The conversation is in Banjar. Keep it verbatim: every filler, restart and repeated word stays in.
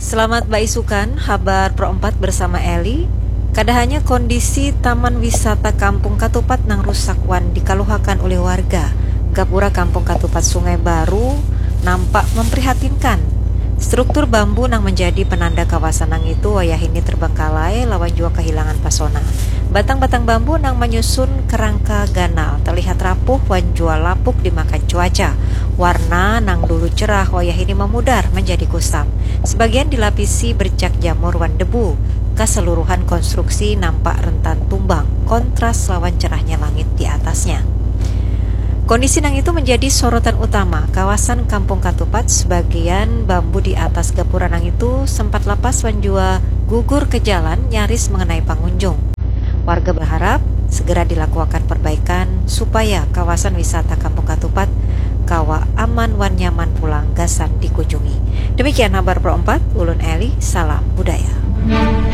Selamat baisukan, habar Pro empat bersama Eli. Kada hanya kondisi Taman Wisata Kampung Katupat nang rusak wan dikaluhakan ulih warga, gapura Kampung Katupat Sungai Baru nampak memprihatinkan. Struktur bambu nang menjadi penanda kawasan nangitu wayahini terbengkalai lawan jua kehilangan pasona. Batang-batang bambu nang menyusun kerangka ganal terlihat rapuh wan jua lapuk dimakan cuaca. Warna nang dulu cerah wayahini memudar menjadi kusam. Sebagian dilapisi bercak jamur wan debu. Keseluruhan konstruksi nampak rentan tumbang, kontras lawan cerahnya langit di atasnya. Kondisi nang itu menjadi sorotan utama kawasan Kampung Katupat. Sebagian bambu di atas gapura nang itu sempat lapas wan jua gugur ke jalan, nyaris mengenai pangunjung. Warga berharap segera dilakuakan perbaikan supaya kawasan wisata Kampung Katupat kawa aman wan nyaman pulang gasan dikunjungi. Demikian habar Pro empat, ulun Eli, salam budaya.